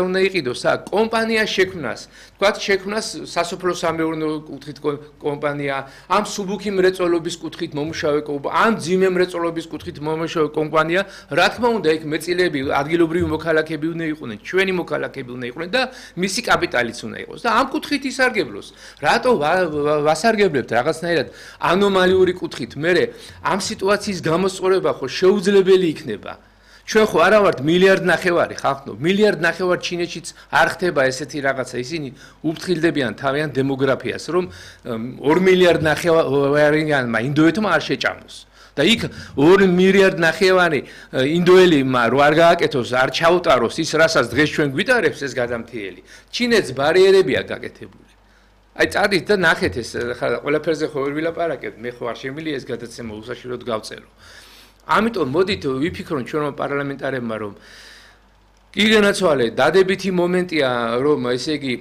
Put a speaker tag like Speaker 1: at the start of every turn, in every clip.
Speaker 1: უნდა იყიდოს კომპანია შექმნას, თქვათ შექმნას სასოფლო სამეურნეო კუთხით კომპანია, ამ სუბუქი მრეწველობის კუთხით მომუშავე კომპანია, ამ ძიმე მრეწველობის კუთხით მომუშავე კომპანია, რა თქმა უნდა, იქ მეწილეები, ადგილობრივი მოქალაქეები უნდა იყვნენ, ჩვენი მოქალაქეები უნდა იყვნენ და მისი კაპიტალიც უნდა იყოს და ამ კუთხით ისარგებლოს. რატო ვასარგებლებთ რაღაცნაირად ანომალიური კუთხით? მე ამ სიტუაციის გამოსწორება ხო შეუძლებელი იქნება. ჩვენ ხო არა ვართ მილიარდ ნახევარი ხალხო, მილიარდ ნახევარ ჩინეთშიც არ ხდება ესეთი რაღაცა, ისინი უფრთხილდებიან თავიანთ დემოგრაფიას, რომ 2 მილიარდ ნახევარიანმა ინდოეთმა არ შეჭამოს. და იქ 2 მილიარდ ნახევარი ინდოელებმა რო არ გააკეთოს, არ ჩაუტაროს ის, რასაც დღეს ჩვენ გვიტარებს ეს გადამთიელი. ჩინეთს ბარიერებია გაკეთებული. აი წადით და ნახეთ ეს ყველაფერზე ხო ვერ ვილაპარაკებთ, მე ხო არ შემიძლია ეს გადაცემა უსაშვილოდ გავწერო. ამიტომ მოდით ვიფიქროთ ჩვენმა პარლამენტარებმა, რომ კი განაცვალე დადებითი მომენტია, რომ ესე იგი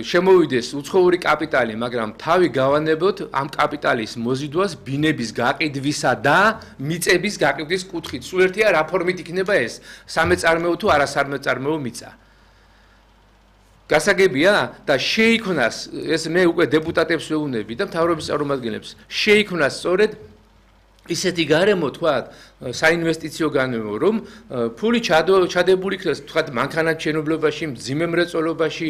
Speaker 1: შემოვიდეს უცხოური კაპიტალი, მაგრამ თავი გავანებოთ ამ კაპიტალის მოზიდვას ბინების გაყიდვისა და მიწების გაყიდვის კუთხით. სულ ერთია რა ფორმით იქნება ეს, სამეწარმეო თუ არასამეწარმეო მიწა. გასაგებია და შეიქმნას, ეს მე უკვე დეპუტატებს ვეუბნები და მთავრობის წარმომადგენლებს, შეიქმნას სწორედ ისეთი გარემო თქვათ საინვესტიციო გარემო, რომ ფული ჩადებული იქნას თქვათ მანქანათმშენებლობაში, მძიმე მრეწველობაში,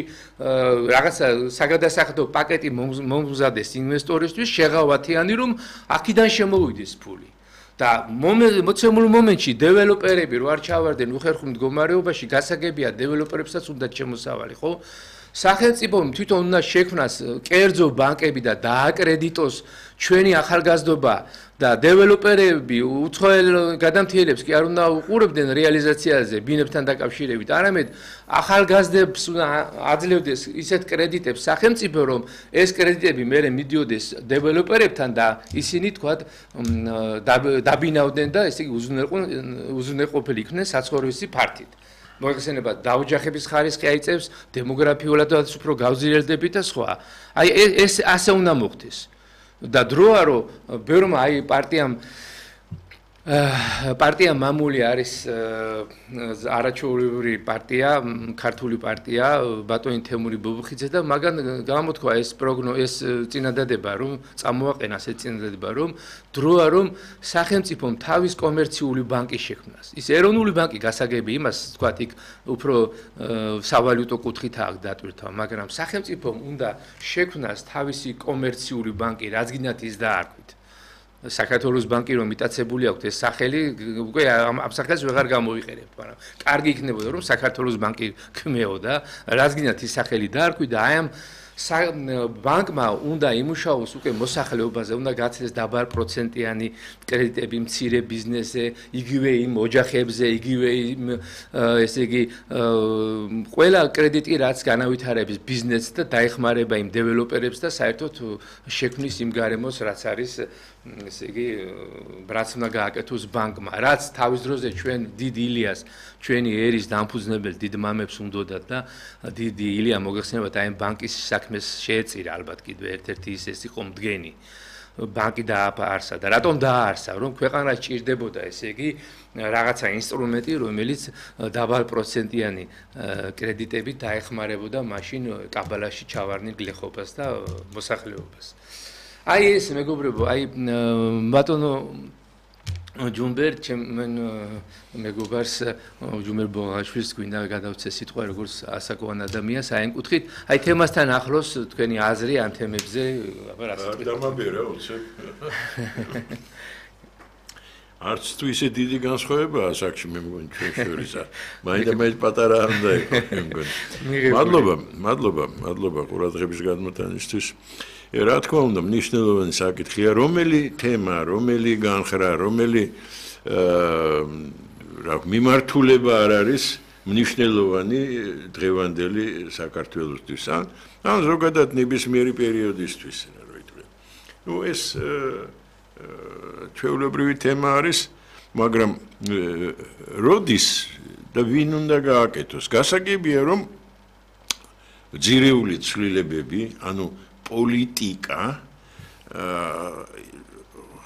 Speaker 1: რაღაცა საგადასახადო პაკეტი მომზადეს ინვესტორისთვის შეღავათიანი, რომ აქედან შემოვიდეს ფული. და მოცემულ მომენტში დეველოპერები რო არ ჩავარდნენ უხერხულ მდგომარეობაში, გასაგებია დეველოპერებსაც უნდა შემოსავალი, ხო? სახელმწიფომ თვითონ უნდა შექმნას კერძო ბანკები და დააკრედიტოს ჩვენი ახალგაზრდობა და დეველოპერები უცხოელ გადამთიელებს კი არ უნდა უყურებდნენ რეალიზაციაზე ბინებთან დაკავშირებით, არამედ ახალგაზრდებს უნდა აძლევდეს ისეთ კრედიტებს სახელმწიფო, რომ ეს კრედიტები მერე მიდიოდეს დეველოპერებთან და ისინი თქვათ დაბინავდნენ და ესე იგი უზრუნველყოფილი იქნენ საცხოვრისი ფართით. მოიხსენება დაოჯახების ხარისხი აიწევს, დემოგრაფიულადაც უფრო გავზრიელდებით და სხვა. აი ეს ასე უნდა მოხდეს. და დროა რომ ბევრმა აი პარტია მამული არის არაჩვეულებრივი პარტია, ქართული პარტია, ბატონი თემური ბობუხიძე და მაგან გამოთქვა ეს წინადადება, რომ წამოაყენას ეს წინადადება, რომ დროა რომ სახელმწიფომ თავის კომერციული ბანკი შექმნას. ის ეროვნული ბანკი გასაგები იმას თქვათ იქ უფრო სავალუტო კუთხით აქვს დატვირთვა, მაგრამ სახელმწიფომ უნდა შექმნას თავისი კომერციული ბანკი, რაც გინდათ ის დაარქვით. საქართველოს ბანკი რომ მიტაცებული აქვს ეს სახელი, უკვე ამ სახელს ვეღარ გამოიყენებთ, მაგრამ კარგი იქნებოდა რომ საქართველოს ბანკი ქმეო და რაც გინდათ ის სახელი დაარქვით და აი ამ ბანკმა უნდა იმუშაოს უკვე მოსახლეობაზე, უნდა გაცილდეს დაბალ პროცენტიანი კრედიტები მცირე ბიზნესზე, იგივე იმ ოჯახებზე, იგივე იმ ესე იგი ყველა კრედიტი რაც განავითარებს ბიზნესს და დაეხმარება იმ დეველოპერებს და საერთოდ შექმნის იმ გარემოს რაც არის ესე იგი რაც უნდა გააკეთოს ბანკმა, რაც თავის დროზე ჩვენ დიდ ილიას, ჩვენი ერის დამფუძნებელ დიდ მამებს უნდოდათ და დიდი ილია მოგეხსენებათ აი ბანკის საქმეს შეეწირა ალბათ კიდევ ერთ-ერთი ის იყო მდგენი. ბანკი დააფარსა და რატომ დააარსა, რომ ქვეყანას ჭირდებოდა ესე იგი რაღაცა ინსტრუმენტი, რომელიც დაბალ პროცენტიანი კრედიტებით დაეხმარებოდა მაშინ კაბალაში ჩავარდნილ გლეხობას და მოსახლეობას. აი ეს მეგობრებო, აი ბატონო ჯუმბერ მეგობარს ჯუმბერ ბოღაშვილს გვინდა გადავცე სიტყვა როგორც ასაკოვან ადამიანს აი ამ კუთხით, აი თემასთან ახლოს თქვენი აზრი ამ თემებზე, აბა რა სიტყვით.
Speaker 2: დამაბერე უცებ. არც თუ ისე დიდი განსხვავებაა საკში მე მგონი ჩვენ შორისა. მაინდა პატარა არ უნდა იყოს მე მგონი. მადლობა ყურადღების გადმოტანისთვის. რა თქმა უნდა, მნიშვნელოვანი საკითხია, რომელი თემა, რომელი განხრა, რომელი მიმართულება არ არის მნიშვნელოვანი დღევანდელი საქართველოსთვის, ან ზოგადად ნებისმიერი პერიოდისთვის, რა ითქვი. ნუ ეს ჩვეულებრივი თემა არის, მაგრამ როდის და ვინ უნდა გააკეთოს? გასაგებია, რომ ძირეული ცვლილებები, ანუ პოლიტიკა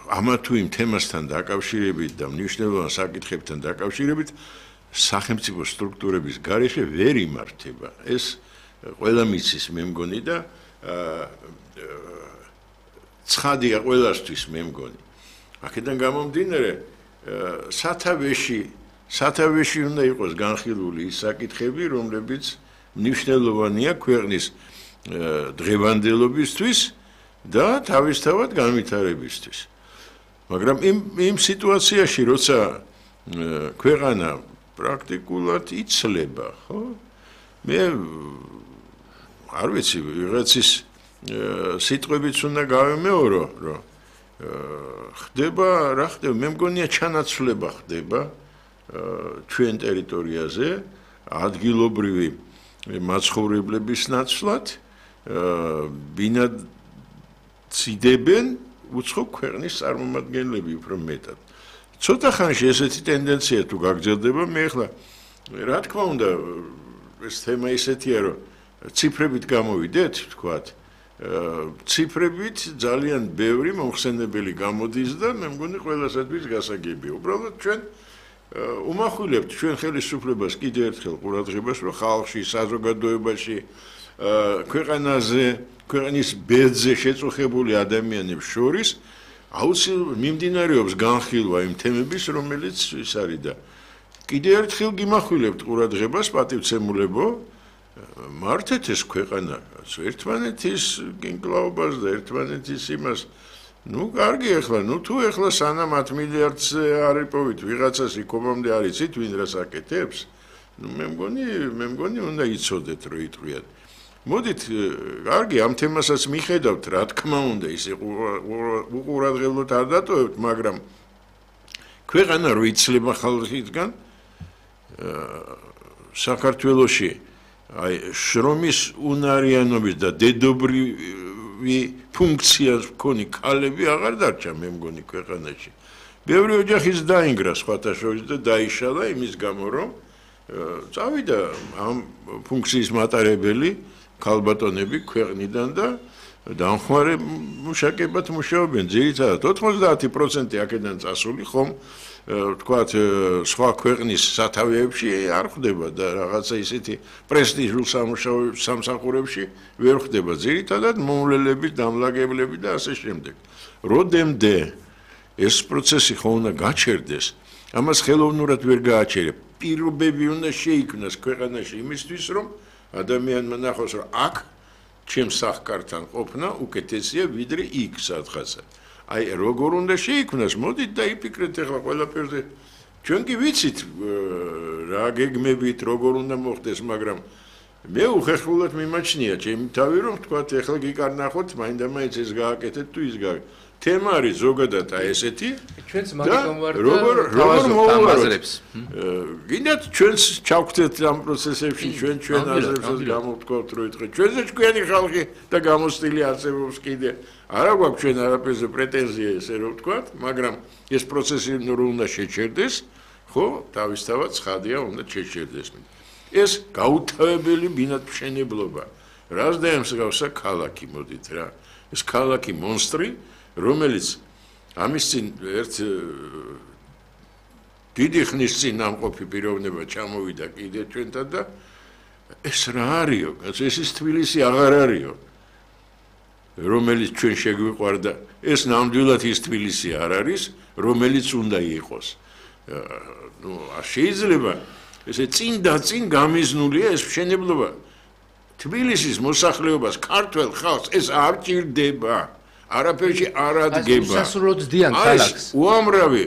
Speaker 2: ამა თუ იმ თემასთან დაკავშირებით და მნიშვნელოვან საკითხებთან დაკავშირებით სახელმწიფო სტრუქტურების გარეშე ვერ იმართება. ეს ყველა მიცის მე მგონი და ცხადია ყველასთვის მე მგონი. აქედან გამომდინარე სათავეში უნდა იყოს განხილული ის საკითხები, რომლებიც მნიშვნელოვანია ქვეყნის დღევანდელობისთვის და თავისთავად განვითარებისთვის. მაგრამ იმ სიტუაციაში, როცა ქვეყანა პრაქტიკულად იცლება, ხო? მე არ ვიცი, ვიღაცის სიტყვებიც უნდა გავემეორო, რომ ხდება, რა ხდება, მე მგონია ჩანაცვლება ხდება ჩვენ ტერიტორიაზე ადგილობრივი მაცხოვრებლების ნაცვლად ბინადრობენ უცხო ქვეყნის წარმომადგენლები უფრო მეტად. ცოტა ხანში ესეთი ტენდენცია თუ გაგრძელდება, მე ახლა რა თქმა უნდა ეს თემა ისეთია, რომ ციფრებით გამოვიდეთ, თქვათ, ციფრებით ძალიან ბევრი მომხსენებელი გამოდის და მე მგონი ყველასათვის გასაგებია. უბრალოდ ჩვენ უმახვილებთ ჩვენ ხელისუფლებას კიდევ ერთხელ ყურადღებას, რომ ხალხში, საზოგადოებაში, ქვეყნის ბედზე შეწუხებული ადამიანებს შორის აუცილებლად მიმდინარეობს განხილვა იმ თემების, რომელიც ის არის და კიდევ ერთხელ გიმახვილებთ ყურადღებას, პატივცემულებო, მართეთ ეს ქვეყანა ერთმანეთის გინკლაობას და ერთმანეთის იმას. ნუ კარგი ახლა, თუ ახლა სანამ 10 მილიარდს არ იპოვით ვიღაცას იქომამდე არ იცით ვინ რას აკეთებს, ნუ მე მგონი უნდა იცოდეთ რომ იტყვიათ. მოდით, კარგი, ამ თემასაც მიხედავთ, რა თქმა უნდა, ისე უყურადღებოდ არ დატოვებთ, მაგრამ ქვეყანა რო იცლება ხალხისგან საქართველოში აი შრომის უნარიანობის და დედობრივი ფუნქციას მქონი ქალები აღარ დარჩა მე მგონი ქვეყანაში. ბევრი ოჯახის დაინგრა სხვათა შორის და დაიშალა იმის გამო რომ წავიდა ამ ფუნქციის მატარებელი ქალბატონები ქვეყნიდან და დამხმარე მუშაკებად მუშაობენ. ძირითადად 90% აქედან წასული ხომ თქვათ სხვა ქვეყნის სათავეებში არ ხდება და რაღაცა ისეთი პრესტიჟულ სამსახურებში ვერ ხდება. ძირითადად მომვლელები, დამლაგებლები და ასე შემდეგ. როდემდე ეს პროცესი ხო უნდა გაჩერდეს, ამას ხელოვნურად ვერ გააჩერებ. პირობები უნდა შეიქმნას ქვეყანაში იმისთვის, რომ ადამიანმა ნახოს, რომ აქ ჩემს სახკართან ყოფნა უკეთესია ვიდრე იქ სადღაცა. აი როგორ უნდა შეიქმნას, მოდით და იფიქრეთ ახლა ყველაფერზე. ჩვენ კი ვიცით რა გეგმებით, როგორ უნდა მოხდეს, მაგრამ მე უხერხულად მიმაჩნია ჩემი თავი, რომ თქვათ ახლა გიკარნახოთ, მაინდა-მაინც ეს გააკეთეთ თუ ის გააკეთეთ. თემა არის ზოგადად აი ესეთი.
Speaker 1: ჩვენც მაგიტომ ვარ და თავაზრებს.
Speaker 2: გინდათ ჩვენს ჩავხვდეთ ამ პროცესებში, ჩვენ აზრებსაც გამოვთქვათ, რომ ეთქე ჩვენზე ჩვენი ხალხი და გამოსტილი არსებობს კიდე. არა გვაქვს ჩვენ არაფერზე პრეტენზია ესე რომ ვთქვათ, მაგრამ ეს პროცესი რო უნდა შეჩერდეს, ხო, თავისთავად ცხადია უნდა შეჩერდეს. ეს გაუთავებელი ბინადრობშენებლობა. რას დაემსგავსა ქალაქი, მოდით რა. ეს ქალაქი მონსტრი, რომელიც ამის წინ ერთ დიდი ხნის წინ ამყოფი პიროვნება ჩამოვიდა კიდე ჩვენთან და ეს რა არისო, ეს ის თბილისი აღარ არისო. რომელიც ჩვენ შეგვიყვარდა, ეს ნამდვილად ის თბილისი არ არის, რომელიც უნდა იყოს. ნუ შეიძლება ესე წინ გამიზნულია ეს მშენებლობა. თბილისის მოსახლეობას, ქართველ ხალხს ეს არ ჭირდება. არაფერში არ ადგება.
Speaker 1: სასურველოდ დიან ქალაქს.
Speaker 2: უამრავი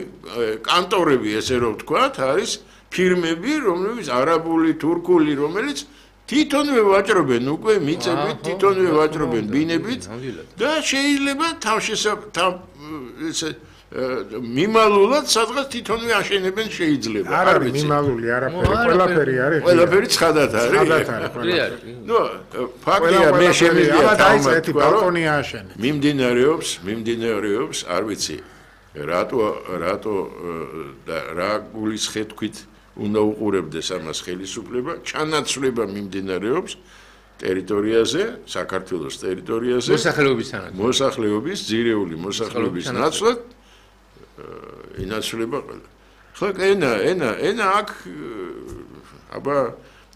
Speaker 2: კანტორები, ესე რომ ვთქვათ, არის ფირმები, რომლებიც არაბული, თურქული, რომელიც თვითონვე ვაჭრობენ უკვე მიწებით, თვითონვე ვაჭრობენ ბინებით და შეიძლება მიმალულად სადღაც თვითონვე აშენებენ შეიძლება.
Speaker 3: არ არის მიმალული არაფერი, ყველაფერი არის.
Speaker 2: ყველაფერი ცხადად არის. ნუ ფაქტია მე შემიძლია
Speaker 3: დაიწყეთ ბალკონი ააშენე.
Speaker 2: მიმდინარეობს, არ ვიცი, რატო და რა გულისხეთქვით უნდა უყურებდეს ამას ხელისუფლება, ჩანაცვლება მიმდინარეობს ტერიტორიაზე, საქართველოს ტერიტორიაზე, მოსახლეობის, ძირეული მოსახლეობის ნაცვლად ინაცვლება ყველა. ხო, ენა აქ აბა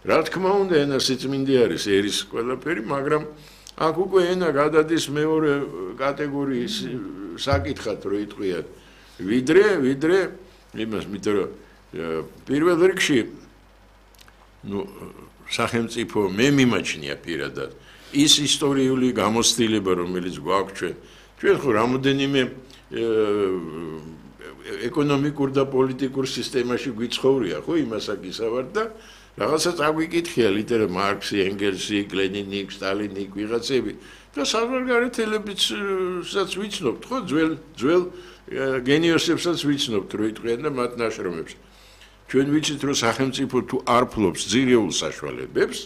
Speaker 2: რა თქმა უნდა ენა სიწმინდე არის ერის ყველაფერი, მაგრამ აქ უკვე ენა გადადის მეორე კატეგორიის საკითხად რო იტყვიათ. ვიდრე იმას იმიტომ რომ პირველ რიგში სახელმწიფო მე მიმაჩნია პირადად ის ისტორიული გამოცდილება რომელიც გვაქვს ჩვენ ხო რამოდენიმე ეკონომიკურ და პოლიტიკურ სისტემაში გვიცხოვრია ხო იმას აკისავართ და რაღაცა წაგვიკითხია ლიტერატურა მარქსი, ენგელსი, ლენინი, სტალინი, ვიღაცები და საზღვარგარეთელებიცაც ვიცნობთ ხო ძველ გენიოსებსაც ვიცნობთ რო იტყვიან და მათ ნაშრომებს ჩვენ ვიცით რომ სახელმწიფო თუ არ ფლობს ძირეულ საშუალებებს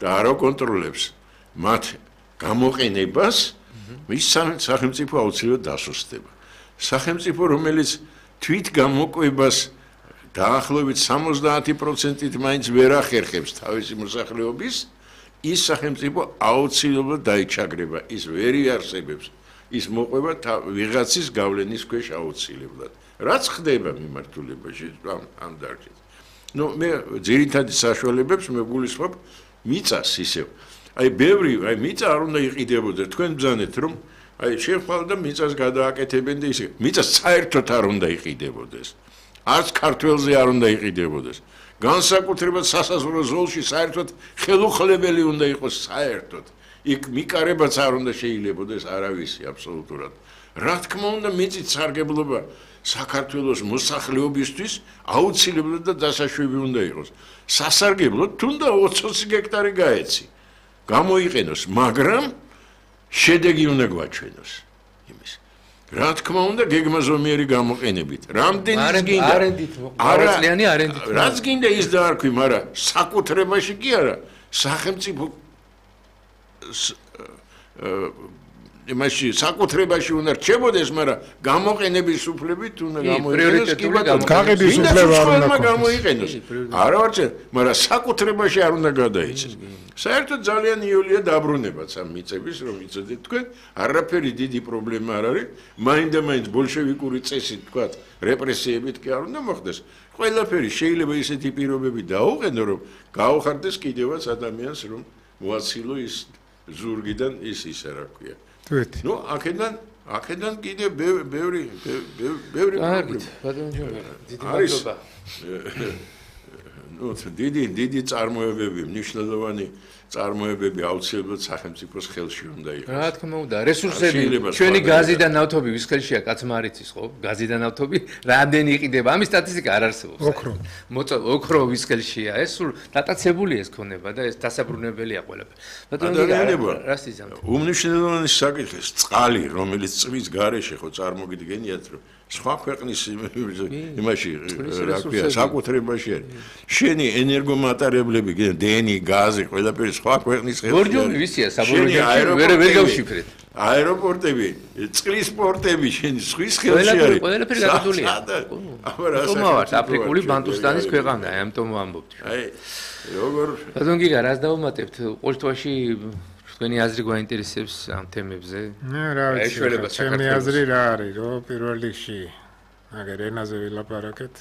Speaker 2: და არ აკონტროლებს მათ გამოყენებას მის სახელმწიფო აუცილებლად დასუსტდება სახელმწიფო რომელიც თვით გამოკვებას დაახლოებით 70%-ით მაინც ვერ ახერხებს თავისი მოსახლეობის ის სახელმწიფო აუცილებლად დაიჩაგრება ის ვერ იარსებებს ის მოყვება ვიღაცის გავლენის ქვეშ აუცილებლად რაც ხდება მიმართულებაში ამ დარგით ნუ მე ძირითადი საშუალებებს მე გულისხმობ მიწას ისევ აი მიწა არ უნდა იყიდებოდეს თქვენ ბრძანეთ რომ აი შეხვდა და მიწას გადააკეთებენ და ისე მიწას საერთოდ არ უნდა იყიდებოდეს არც ქართველზე არ უნდა იყიდებოდეს განსაკუთრებად სასაზღვრო ზოლში საერთოდ ხელუხლებელი უნდა იყოს საერთოდ იქ მიკარებაც არ უნდა შეიძლებოდეს არავისი აბსოლუტურად რა თქმა უნდა მიწის სარგებლობა საქართველოს მოსახლეობისთვის აუცილებლად და დასაშვები უნდა იყოს სასარგებლოდ თუნდა 20 გექტარი გაეცი გამოიყენოს მაგრამ შედეგი უნდა გვაჩვენოს იმის რა თქმა უნდა გეგმაზომიერი გამოყენებით რამდენის გინდა არენდით რაც გინდა ის დაარქვი მაგრამ საკუთრებაში კი არა სახელმწიფო იმაში საკუთრებაში უნდა რჩებოდეს, მაგრამ გამოყენების უფლებით უნდა გამოიყენოს კი ბატონო.
Speaker 3: გაღების უფლება არ უნდა
Speaker 2: გამოიყენოს. არა ვარჩენ, მაგრამ საკუთრებაში არ უნდა გადაიცეს. საერთოდ ძალიან იოლია დაბრუნებაც ამ მიწების, რომ იცოდეთ თქვენ, არაფერი დიდი პრობლემა არ არის, მაინდა-მაინც ბოლშევიკური წესით თქვა, რეპრესიებით კი არ უნდა მოხდეს. ყველაფერი შეიძლება ისეთი პირობები დაუყენო, რომ გაუხარდეს კიდევაც ადამიანს, რომ მოაცილო ის ზურგიდან ისე რა ქვია.
Speaker 3: თვით.
Speaker 2: ნუ აქედან კიდე ბევრი
Speaker 1: კარგით, ბატონო ჯორი, დიდი მადლობა.
Speaker 2: ნუ დიდი წარმოებები, მნიშვნელოვანი წარმოებები აუცილებლად სახელმწიფოს ხელში უნდა იყოს.
Speaker 1: რა თქმა უნდა, რესურსები, ჩვენი გაზი და ნავთობი ვის ხელშია, კაცმა არ იცის, ხო? გაზი და ნავთობი რამდენი იყიდება? ამის სტატისტიკა არ არსებობს. ოქრო ვის ხელშია? ეს სულ დატაცებულია ეს ქონება და ეს დასაბრუნებელია ყველაფერი.
Speaker 2: ბატონო,
Speaker 1: რას იზამთ?
Speaker 2: უმნიშვნელოვანესი საკითხი წყალი, რომელიც წვის გარეშე ხო წარმოგიდგენიათ, რომ სხვა ქვეყნის იმაში რა ქვია, საკუთრებაში არის. შენი ენერგომატარებლები, დენი, გაზი, ყველაფერი სხვა ქვეყნის ხელში.
Speaker 1: ბორჯომი ვისია, საბორჯომი ვერ გავშიფრეთ.
Speaker 2: აეროპორტები, წყლის პორტები შენი სხვის ხელში არის.
Speaker 1: ყველაფერი გადადულია. თუმავართ აფრიკული ბანტუსტანის ქვეყანა, ამიტომ ვამბობთ.
Speaker 2: აი, როგორ
Speaker 1: ბატონ გიგა, რას დავუმატებთ? ყოველთვაში თქვენი აზრი გვაინტერესებს ამ თემებზე?
Speaker 3: რა ვიცი, ჩემი აზრი რა არის, რომ პირველ რიგში მაგერ ენაზე ვილაპარაკეთ.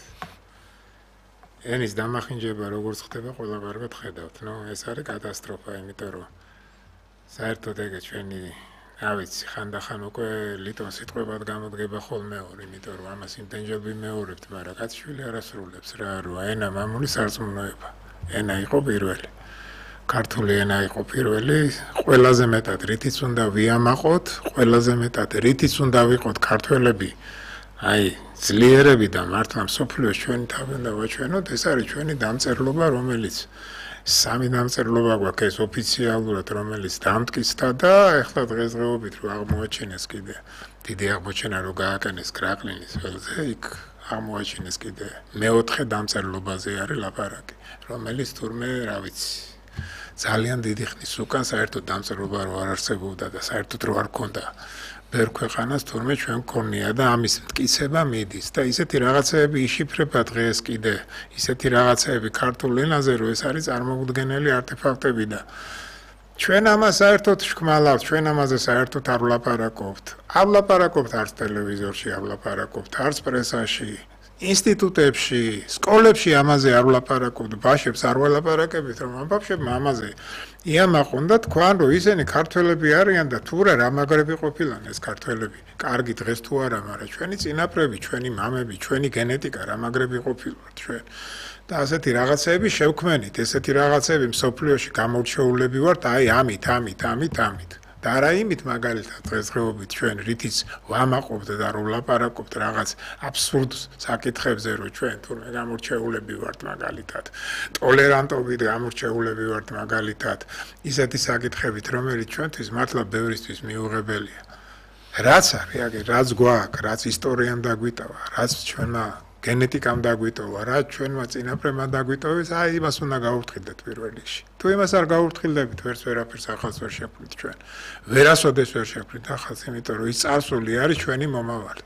Speaker 3: ენის დამახინჯება როგორც ხდება, ყველა კარგად ხედავთ. ნუ ეს არის კატასტროფა, იმიტომ რომ საერთოდ ეგ ჩვენი, რა ვიცი, ხანდახან უკვე ლიტონ სიტყვებად გამოდგება ხოლმე ორი, იმიტომ რომ ამას იმდენჯერ ვიმეორებთ, მაგრამ კაცშვილი არ ასრულებს რა, რომ ენა მამული სარწმუნოება. ენა იყო პირველი. ქართული ენა იყო პირველი, ყველაზე მეტად რითიც უნდა ვიამაყოთ, ყველაზე მეტად რითიც უნდა ვიყოთ ქართველები, აი, ძლიერები და მართლა მსოფლიოს ჩვენი თავი უნდა ვაჩვენოთ, ეს არის ჩვენი დამწერლობა, რომელიც სამი დამწერლობა გვაქვს ეს ოფიციალურად, რომელიც დამტკიცდა და ეხლა დღესდღეობით რო აღმოაჩინეს კიდე დიდი აღმოჩენა რო გააკენეს კრაყლინის ველზე, იქ აღმოაჩინეს კიდე მეოთხე დამწერლობაზე არის ლაპარაკი, რომელიც თურმე, რა ვიცი, ძალიან დიდი ხნის უკან საერთოდ დამწერლობა რო არ არსებობდა და საერთოდ რო არ ქონდა ბევრ ქვეყანას თურმე ჩვენ გქონია და ამის მტკიცება მიდის და ისეთი რაღაცეები იშიფრება დღეს კიდე ისეთი რაღაცეები ქართულ ენაზე რომ ეს არის წარმოუდგენელი არტეფაქტები და ჩვენ ამას საერთოდ შქმალავთ ჩვენ ამაზე საერთოდ არ ვლაპარაკობთ არც ტელევიზორში არ ვლაპარაკობთ არც პრესაში ინსტიტუტებში, სკოლებში ამაზე არ ვლაპარაკობთ, ბავშვებს არ ველაპარაკებით, რომ ამ ბავშვებმა ამაზე იამაყონ და თქვან, რომ ისინი ქართველები არიან და თუ რა მაგრები ყოფილან ეს ქართველები. კარგი დღეს თუ არა, მაგრამ ჩვენი წინაპრები, ჩვენი მამები, ჩვენი გენეტიკა რა მაგრები ყოფილვართ ჩვენ. და ასეთი რაღაცები შევქმენით, ესეთი რაღაცები მსოფლიოში გამორჩეულები ვართ, აი ამით. და არა იმით მაგალითად დღესდღეობით ჩვენ რითიც ვამაყობთ და რომ ვლაპარაკობთ რაღაც აბსურდ საკითხებზე, რომ ჩვენ თურმე გამორჩეულები ვართ მაგალითად, ტოლერანტობით გამორჩეულები ვართ მაგალითად, ისეთი საკითხებით, რომელიც ჩვენთვის მართლა ბევრისთვის მიუღებელია. რაც არის, აგერ რაც გვაქვს, რაც ისტორიამ დაგვიტოვა, რაც ჩვენმა გენეტიკამ დაგვიტოვა, რაც ჩვენმა წინაპრებმა დაგვიტოვეს, აი იმას უნდა გავურთხილდეთ პირველ რიგში. თუ იმას არ გავურთხილდებით, ვერაფერს ახალს ვერ შექმნით ჩვენ. ვერასოდეს ვერ შექმნით ახალს, იმიტომ რომ ის წარსული არის ჩვენი მომავალი.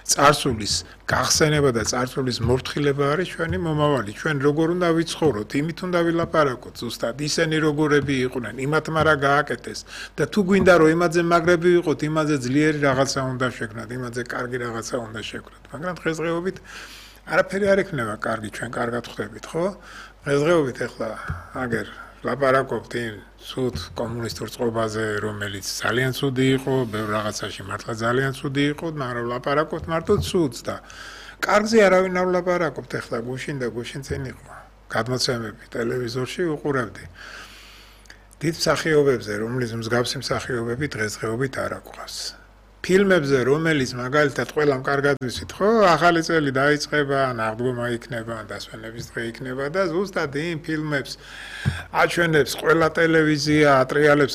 Speaker 3: წარსულის გახსენება და წარსულის მორთხილება არის ჩვენი მომავალი. ჩვენ როგორ უნდა ვიცხოვროთ, იმით უნდა ვილაპარაკოთ ზუსტად. ისინი როგორები იყვნენ, იმათმა რა გააკეთეს და თუ გვინდა რომ იმაზე მაგრები ვიყოთ, იმაზე ძლიერი რაღაცა უნდა შექმნათ, იმაზე კარგი რაღაცა უნდა შექმნათ. მაგრამ დღესდღეობით არაფერი არ ექნება კარგი, ჩვენ კარგად ხვდებით, ხო? დღესდღეობით ახლა აგერ ლაპარაკობთ იმ ცუდ კომუნისტურ წყობაზე, რომელიც ძალიან ცუდი იყო, ბევრ რაღაცაში მართლა ძალიან ცუდი იყო, მაგრამ ლაპარაკობთ მარტო ცუდს და კარგზე არავინ არ ლაპარაკობთ, ახლა გუშინ და გუშინ წინ იყო გადმოცემები ტელევიზორში უყურებდი. დიდ მსახიობებზე, რომლის მსგავსი მსახიობები დღესდღეობით არ აქვთ. ფილმებზე, რომელიც მაგალითად ყველამ კარგად ვიცით, ხო, ახალი წელი დაიწყება, ნაღდგომა იქნება, დასვენების დღე იქნება და ზუსტად იმ ფილმებს აჩვენებს ყველა ტელევიზია,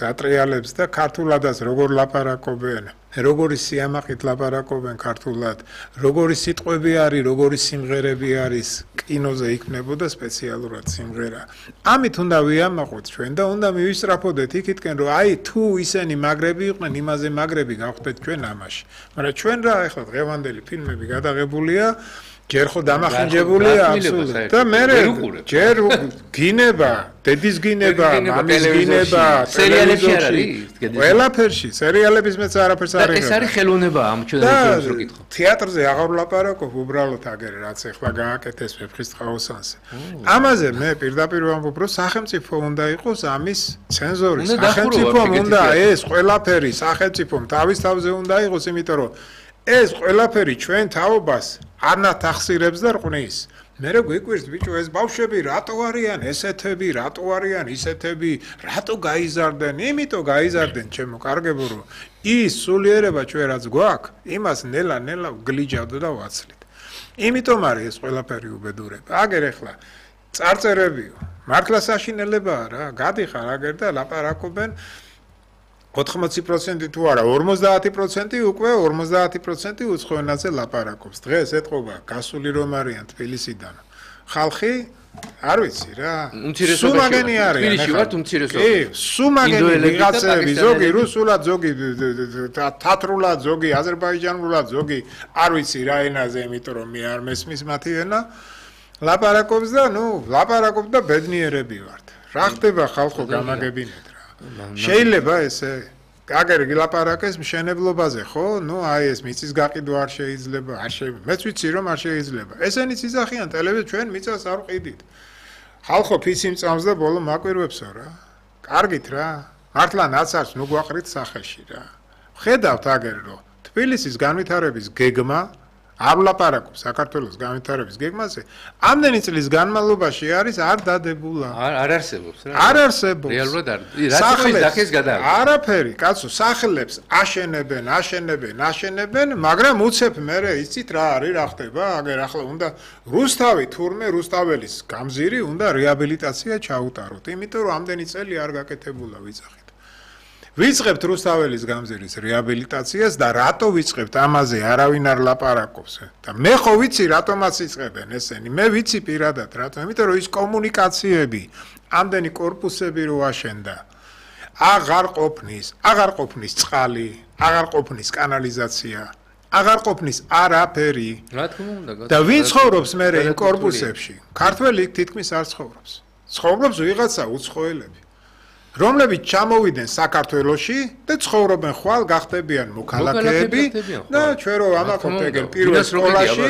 Speaker 3: ატრიალებს და ქართულადაც როგორ ლაპარაკობენ, როგორი სიამაყით ლაპარაკობენ ქართულად, როგორი სიტყვები არის, როგორი სიმღერები არის, კინოზე იქნებოდა სპეციალურად სიმღერა. ამით უნდა ვიამაყოთ ჩვენ და უნდა მივისწრაფოდეთ იქითკენ, რომ აი თუ ისინი მაგრები იყვნენ, იმაზე მაგრები გავხდეთ ჩვენ ამაში. მაგრამ ჩვენ რა ახლა დღევანდელი ფილმები გადაღებულია ჯერ ხო დამახინჯებულია აბსოლუტურად და მე ჯერ გინება, დედის გინება, მამის გინება,
Speaker 1: სერიალებში არ არის?
Speaker 3: ყველაფერში, სერიალების მეც არაფერს არ იღებ.
Speaker 1: ეს არის ხელოვნება ამ ჩვენს რო კითხო.
Speaker 3: თეატრზე აღარ ვლაპარაკობ, უბრალოდ აგერ რაც ახლა გააკეთეს ვეფხისტყაოსანზე. ამაზე მე პირდაპირ ვამბობ, რომ სახელმწიფო უნდა იყოს ამის ცენზორი. სახელმწიფომ უნდა ეს ყველაფერი სახელმწიფომ თავის თავზე უნდა იყოს, იმიტომ რომ ეს ყველაფერი ჩვენ თაობას არნათ ახსირებს და რყნის. მე რა გვიკვირს ბიჭო ეს ბავშვები რატო არიან ესეთები, რატო არიან ისეთები, რატო გაიზარდნენ? იმიტომ გაიზარდნენ ჩემო კარგებო რომ ის სულიერება ჩვენ რაც გვაქვს, იმას ნელა გლიჯავდ და ვაცლით. იმიტომ არის ეს ყველაფერი უბედურება. აგერ ახლა წარწერებიო. მართლა საშინელებაა რა, გადიხარ აგერ და ლაპარაკობენ 80% თუ არა 50% უკვე 50% უცხოენაზე ლაპარაკობს. დღეს ეთყობა გასული რომ არიან თბილისიდან. ხალხი არ ვიცი რა.
Speaker 1: სუმაგენი არის. თბილისში ვართ უმცირესობა.
Speaker 3: სუმაგენი ვიღაცები, ზოგი რუსულად, ზოგი თათრულად, ზოგი აზერბაიჯანულად, ზოგი არ ვიცი რა ენაზე, იმიტომ რომ მე არ მესმის მათი ენა. ლაპარაკობს და ლაპარაკობ და ბედნიერები ვართ. რა ხდება ხალხო გამაგებინეთ. შეიძლება ესე აგერ გილაპარაკეს მშენებლობაზე, ხო? აი ეს მიწის გაყიდვა არ შეიძლება, მეც ვიცი რომ არ შეიძლება. ესენიც იზახიან ტელევიზორ ჩვენ მიწას არ ვყიდით. ხალხო ფიცი მწამს და ბოლო მაკვირვებსო რა. კარგით რა. მართლა ნაცარს გვაყრით სახეში რა. ხედავთ აგერ რომ თბილისის განვითარების გეგმა არ ვლაპარაკობ საქართველოს განვითარების გეგმაზე. ამდენი წლის განმავლობაში არის არ დადებულა.
Speaker 1: არ არსებობს რა.
Speaker 3: არ არსებობს.
Speaker 1: რეალურად არ. რა სახეს გადააქვს?
Speaker 3: არაფერი, კაცო, სახლებს აშენებენ, მაგრამ უცებ მერე იცით რა არის, რა ხდება? აგერ ახლა უნდა რუსთავი თურმე რუსთაველის გამზირი უნდა რეაბილიტაცია ჩაუტაროთ, იმიტომ რომ ამდენი წელი არ გაკეთებულა ვიძახით. ვიწყებთ რუსთაველის გამზირის რეაბილიტაციას და რატო ვიწყებთ ამაზე არავინ არ ლაპარაკობს და მე ხო ვიცი რატომაც იწყებენ ესენი მე ვიცი პირადად რატომ იმიტომ რომ ის კომუნიკაციები ამდენი კორპუსები რო აშენდა აღარ ყოფნის წყალი აღარ ყოფნის კანალიზაცია აღარ ყოფნის არაფერი
Speaker 1: რა თქმა უნდა
Speaker 3: და ვინ ცხოვრობს მე იმ კორპუსებში ქართველი თითქმის არ ცხოვრობს ვიღაცა უცხოელები რომლებიც ჩამოვიდნენ საქართველოში და ცხოვრობენ ხვალ გახდებიან მოქალაქეები და ჩვენ რო ამაყობთ ეგრე პირველ სკოლაში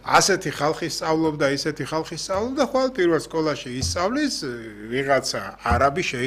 Speaker 3: ასეთი ხალხი სწავლობდა, ისეთი ხალხი სწავლობდა, ხვალ პირველ სკოლაში ისწავლის ვიღაცა არაბი